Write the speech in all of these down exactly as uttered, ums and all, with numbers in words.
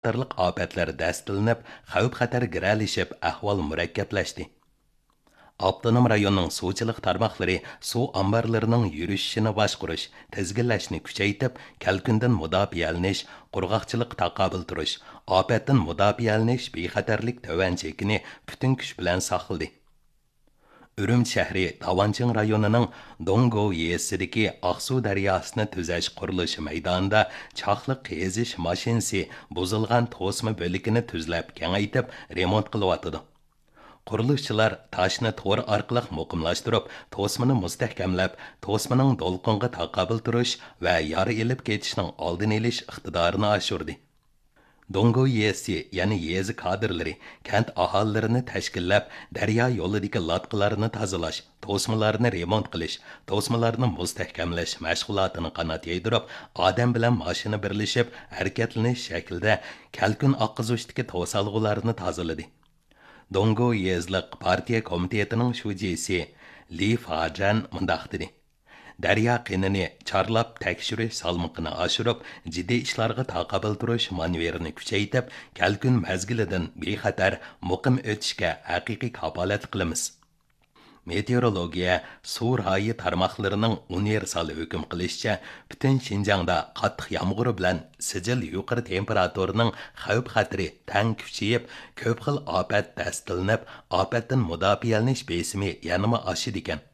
قاتارلىق ئاپەتلەر دەستىلىنىپ، خەۋپ-خەتەر گىرەلىشىپ، ئەھۋال مۇرەككەپلەشتى. ئاپتونوم رايوننىڭ سۇچىلىق تارماقلىرى سۇ ئامبارلىرىنىڭ يۈرۈشۈشىنى باشقۇرۇش، تىزگىنلەشنى كۈچەيتىپ، كەلكۈندىن مۇداپىئەلىنىش، قۇرغاقچىلىققا تاقابىل تۇرۇش، ئاپەتتىن مۇداپىئەلىنىش بىخەتەرلىك تۆۋەن چېكىنى پۈتۈن كۈچ بىلەن ساقلىدى. ئۈرۈمچى شەھىرى داۋانچىڭ رايونىنىڭ دوڭگو يېزىسىدىكى ئاقسۇ دەرياسىنى تۈزەش قۇرۇلۇشى مەيدانىدا چاقلىق قېزىش ماشىنىسى بۇزۇلغان توسما بۆلىكىنى تۈزلەپ كېڭەيتىپ رېمونت قىلىۋاتىدۇ. قۇرۇلۇشچىلار تاشنى تور ئارقىلىق مۇقىملاشتۇرۇپ، توسمىنى مۇستەھكەملەپ، توسمىنىڭ دولقۇنغا تاقابىل تۇرۇش ۋە يارا ئېلىپ كېتىشنىڭ ئالدىنى ئېلىش ئىقتىدارىنى ئاشۇردى. دوڭگو يېزىسى، يەنى يېزا كادىرلىرى كەنت ئاھالىلىرىنى تەشكىللەپ، دەريا يولىدىكى لاتقىلارنى تازىلاش، توسمىلارنى رېمونت قىلىش، توسمىلارنى مۇستەھكەملەش مەشغۇلاتىنى قانات يايدۇرۇپ، ئادەم بىلەن ماشىنا بىرلىشىپ ھەرىكەتلىنىش شەكلىدە كەلكۈن ئاققۇزۇشتىكى توسالغۇلارنى تازىلىدى. دوڭگو يېزىلىق پارتىيە كومىتېتىنىڭ شۇجىسى لى فاجەن مۇنداق دېدى: دەريا قېنىنى چارلاپ تەكشۈرۈش سالمىقىنى ئاشۇرۇپ، جىددىي ئىشلارغا تاقابىل تۇرۇش مانېۋىرىنى كۈچەيتىپ، كەلكۈن مەزگىلىدىن بىخەتەر، مۇقىم ئۆتۈشكە ھەقىقىي كاپالەتلىك قىلىمىز. مېتېئورولوگىيە، سۇ رايى تارماقلىرىنىڭ ئۇنىۋېرسال ھۆكۈم قىلىشىچە، پۈتۈن شىنجاڭدا قاتتىق يامغۇر بىلەن سىجىل يۇقىرى تېمپېراتۇرىنىڭ خەۋپ-خەتىرى تەڭ كۈچىيىپ، كۆپ خىل ئاپەت دەستىلىنىپ، ئاپەتتىن مۇداپىئەلىنىش بېسىمى يەنىمۇ ئاشىدىكەن.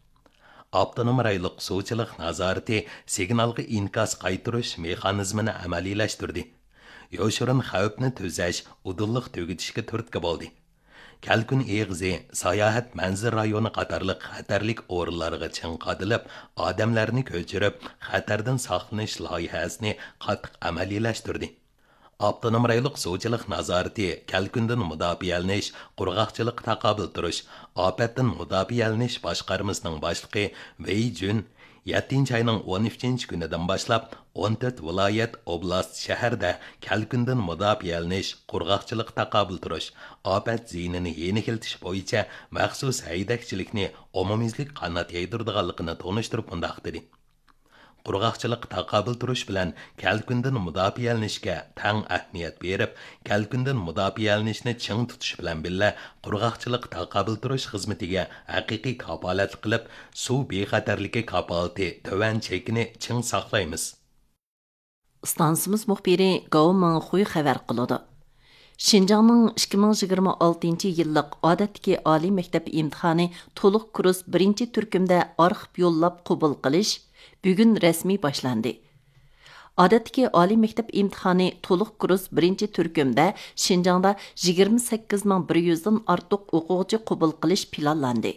ئاپتونوم رايونلۇق سۇچىلىق نازارىتى سىگنالغا ئىنكاس قايتۇرۇش مېخانىزمىنى ئەمەلىيلەشتۈردى. يوشۇرۇن خەۋپنى تۈزەش، ئۇدۇللۇق تۈگىتىشكە تۈرتكە بولدى. كەلكۈن ئېغىزى، ساياھەت مەنزىرە رايونى قاتارلىق خەتەرلىك ئورۇنلارغا چىڭ قادىلىپ، ئادەملەرنى كۆچۈرۈپ، خەتەردىن ساقلىنىش لايىھەسىنى قاتتىق ئەمەلىيلەشتۈردى. ئاپتونوم رايونلۇق سۇچىلىق نازارىتى كەلكۈندىن مۇداپىئەلىنىش، قۇرغاقچىلىققا تاقابىل تۇرۇش، ئاپەتتىن مۇداپىئەلىنىش باشقارمىسىنىڭ باشلىقى ۋېي جۈن يەتتىنچى ئاينىڭ ئون ئۈچىنچى كۈنىدىن باشلاپ، ئون تۆت ۋىلايەت، ئوبلاست، شەھەردە كەلكۈندىن مۇداپىئەلىنىش، قۇرغاقچىلىققا تاقابىل تۇرۇش، ئاپەت زىيىنىنى يېنىكلىتىش بويىچە مەخسۇس ھەيدەكچىلىكنى ئومۇميۈزلۈك قانات يايدۇرىدىغانلىقىنى تونۇشتۇرۇپ مۇنداق دېدى: قۇرغاقچىلىققا تاقابىل تۇرۇش بىلەن كەلكۈندىن مۇداپىئەلىنىشكە تەڭ ئەھمىيەت بېرىپ، كەلكۈندىن مۇداپىئەلىنىشنى چىڭ تۇتۇش بىلەن بىللە، قۇرغاقچىلىققا تاقابىل تۇرۇش خىزمىتىگە ھەقىقىي كاپالەتلىك قىلىپ، سۇ بىخەتەرلىكى كاپالىتى تۆۋەن چېكىنى چىڭ ساقلايمىز. ئىستانسىمىز مۇخبىرى گاۋ مىڭخۇي خەۋەر قىلىدۇ. شىنجاڭنىڭ ئىككى مىڭ يىگىرمە ئالتىنچى يىللىق ئادەتتىكى ئالىي مەكتەپ ئىمتىھانى تولۇق كۇرس بىرىنچى تۈركۈمدە ئارخىپ يوللاپ قوبۇل قىلىش بۈگۈن رەسمىي باشلاندى. ئادەتتىكى ئالىي مەكتەپ ئىمتىھانى تولۇق كۇرس بىرىنچى تۈركۈمدە شىنجاڭدا يىگىرمە سەككىز مىڭ بىر يۈزدىن ئارتۇق ئوقۇغۇچى قوبۇل قىلىش پىلانلاندى.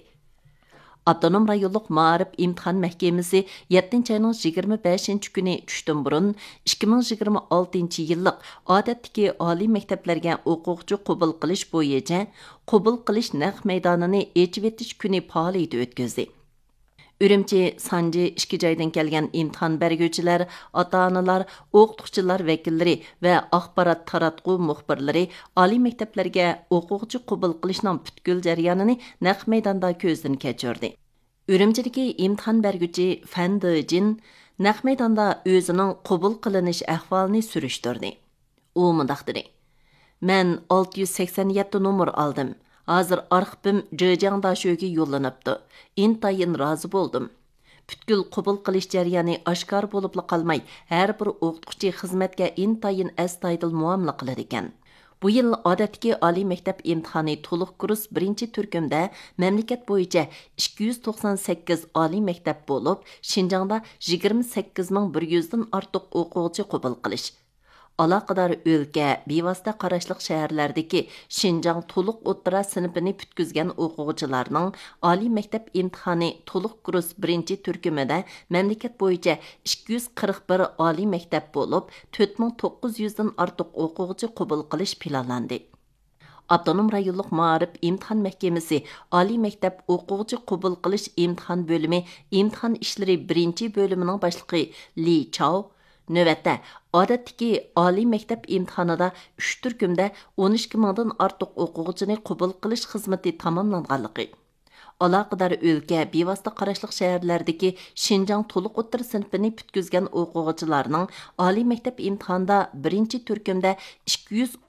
ئاپتونوم رايونلۇق مائارىپ ئىمتىھان مەھكىمىسى يەتتىنچى ئاينىڭ يىگىرمە بەشىنچى كۈنى چۈشتىن بۇرۇن ئىككى مىڭ يىگىرمە ئالتىنچى يىللىق ئادەتتىكى ئالىي مەكتەپلەرگە ئوقۇغۇچى قوبۇل قىلىش بويىچە قوبۇل قىلىش نەق مەيدانىنى ئېچىۋېتىش كۈنى پائالىيىتى ئۆتكۈزدى. ئۈرۈمچى، سانجى ئىككى جايدىن كەلگەن ئىمتىھان بەرگۈچىلەر، ئاتا-ئانىلار، ئوقۇتقۇچىلار ۋەكىللىرى ۋە ئاخبارات تاراتقۇ مۇخبىرلىرى ئالىي مەكتەپلەرگە ئوقۇغۇچى قوبۇل قىلىشنىڭ پۈتكۈل جەريانىنى نەق مەيداندا كۆزدىن كەچۈردى. ئۈرۈمچىدىكى ئىمتىھان بەرگۈچى فەن دېجىن نەق مەيداندا ئۆزىنىڭ قوبۇل قىلىنىش ئەھۋالىنى سۈرۈشتۈردى. ئۇ مۇنداق دېدى: مەن ئالتە يۈز سەكسەن يەتتە نومۇر ئالدىم. ھازىر ئارخىپىم جېجياڭ داشۆگە يوللىنىپتۇ. ئىنتايىن رازى بولدۇم. پۈتكۈل قوبۇل قىلىش جەريانى ئاشكارا بولۇپلا قالماي، ھەر بىر ئوقۇتقۇچى خىزمەتكە ئىنتايىن ئەستايىدىل مۇئامىلە قىلىدىكەن. بۇ يىل ئادەتتىكى ئالىي مەكتەپ ئىمتىھانى تولۇق كۇرس بىرىنچى تۈركۈمدە مەملىكەت بويىچە ئىككى يۈز توقسان سەككىز ئالىي مەكتەپ بولۇپ، شىنجاڭدا يىگىرمە سەككىز مىڭ بىر يۈزدىن ئارتۇق ئوقۇغۇچى قوبۇل قىلىش، ئالاقىدار ئۆلكە، بىۋاسىتە قاراشلىق شەھەرلەردىكى شىنجاڭ تولۇق ئوتتۇرا سىنىپىنى پۈتكۈزگەن ئوقۇغۇچىلارنىڭ ئالىي مەكتەپ ئىمتىھانى تولۇق كۇرس بىرىنچى تۈركۈمىدە مەملىكەت بويىچە ئىككى يۈز قىرىق بىر ئالىي مەكتەپ بولۇپ، تۆت مىڭ توققۇز يۈزدىن ئارتۇق ئوقۇغۇچى قوبۇل قىلىش پىلانلاندى. ئاپتونوم رايونلۇق مائارىپ ئىمتىھان مەھكىمىسى ئالىي مەكتەپ ئوقۇغۇچى قوبۇل قىلىش ئىمتىھان بۆلۈمى ئىمتىھان ئىشلىرى بىرىنچى بۆلۈمىنىڭ باشلىقى لى چاۋ نۆۋەتتە ئادەتتىكى ئالىي مەكتەپ ئىمتىھانىدا ئۈچ تۈركۈمدە ئون ئىككى مىڭدىن ئارتۇق ئوقۇغۇچىنى قوبۇل قىلىش خىزمىتى تاماملانغانلىقى، ئالاقىدار ئۆلكە، بىۋاسىتە قاراشلىق شەھەرلەردىكى شىنجاڭ تولۇق ئوتتۇرا سىنىپىنى پۈتكۈزگەن ئوقۇغۇچىلارنىڭ ئالىي مەكتەپ ئىمتىھانىدا بىرىنچى تۈركۈمدە ئىككى يۈز